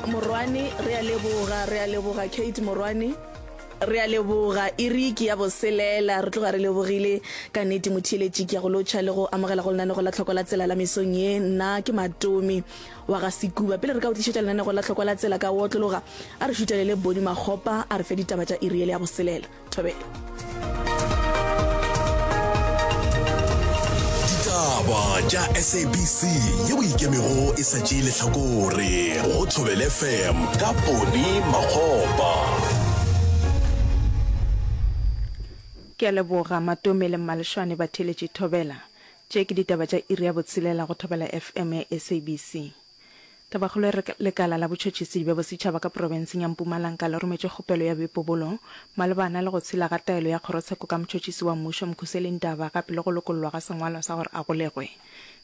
Morwane, re a leboga, re a leboga Kate Morwane. Re a leboga. Iri ke ya boselela. Re tloga re lebogile ka nnete motheeletši. Ke ya go lotšha le go amogela go lenanego la Tlhoko la Tsela la mesong ye. Nna ke Matomi wa ga Sekuba. Pele re ka o tlišetša lenanego la Tlhoko la Tsela ka go otlologa, a re šutelele Boni Makgopa a re fe ditaba tša iri yele ya boselela. Thobela. Ditaba tša SABC ye o ikemego e sa tšee lehlakore go Thobela FM ka Poni Makgopa. Ke a leboga Matome le Mmalešwane batheeletši Thobela. Tše ke ditaba tša iri ya botshelela go Thobela FM ya SABC. Tabakgolo e re Lekala la Botšhotšhisi bja Bosetšhaba ka profenseng ya Mpumalanga le rometše kgopelo ya boipobolo malebana le go tshela ga taelo ya kgorotsheko ka motšhotšhisi wa mmušo Mkhuseli Ndaba gape le go lokollwa ga sengwalwa sa gore a golegwe.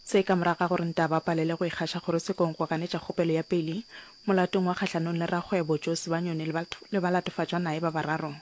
Se ka morago ga gore Ndaba a palele go ikgaša kgorotshekong go ganetša kgopelo ya peili molatong wa kgahlanong le rakgwebo Joe Sibanyoni le balatofatšwa naye ba bararo.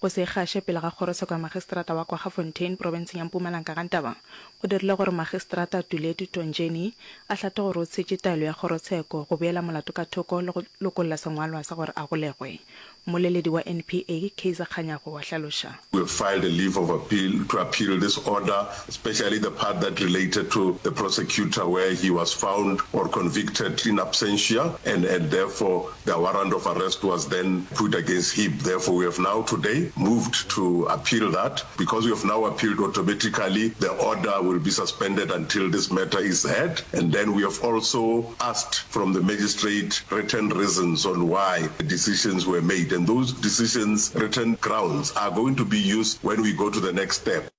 Go se ikgaše pele ga kgorotsheko ya magistrata wa Kwaggafontein profenseng ya Mpumalanga ga Ndaba go dirile gore magistrata Tuletu Tonjeni a hlathe gore o tshetše taelo ya kgorotsheko go beela molato ka thoko le go lokolla sengwalwa sa gore a golegwe. Mmoleledi wa NPA, Kaizer Kganyago wa hlaloša. We have filed a leave of appeal to appeal this order, especially the part that related to the prosecutor where he was found or convicted in absentia and and therefore the warrant of arrest was then put against him. Therefore we have now today moved to appeal that. Because we have now appealed automatically the order will be suspended until this matter is heard and then we have also asked from the magistrate written reasons on why the decisions were made and those decisions written grounds are going to be used when we go to the next step.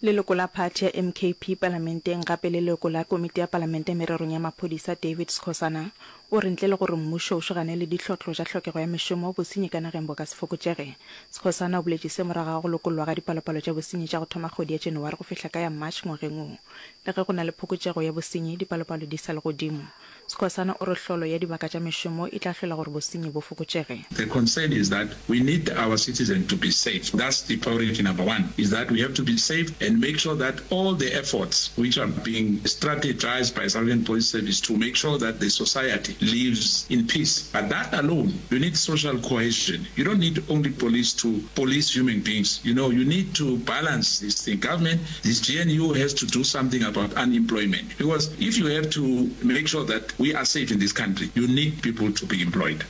Leloko la phathi ya MKP palamenteng gape le leloko la komiti ya palamente mererong ya maphodisa David Skhosana o re ntle le gore mmušo o šogane le dihlotlo tša hlokego ya mešomo, bosenyi ka nageng bo ka se fokotšege. Skhosana o boletše se morago ga go lokollwa ga dipalopalo tša bosenyi tša go thoma kgwedi ya January go fihla ka ya March ngwageng wo. Le ge go na le phokotšego ya bosenyi, dipalopalo di sa le godimo. Skhosana o re hlolo ya dibaka tša mešomo e tla hlola gore bosenyi bo fokotšege. The concern is that we need our citizen to be safe, that's the priority number one, is that we have to be safe and make sure that all the efforts which are being strategised by South African Police Service to make sure that the society lives in peace. But that alone, you need social cohesion, you don't need only police to police human beings, you know, you need to balance this thing. Government, this GNU has to do something about unemployment because if you have to make sure that we are safe in this country, you need people to be employed.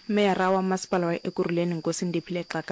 Meyara wa Masepala wa Ekurhuleni Nkosi Ndiphile Xaka.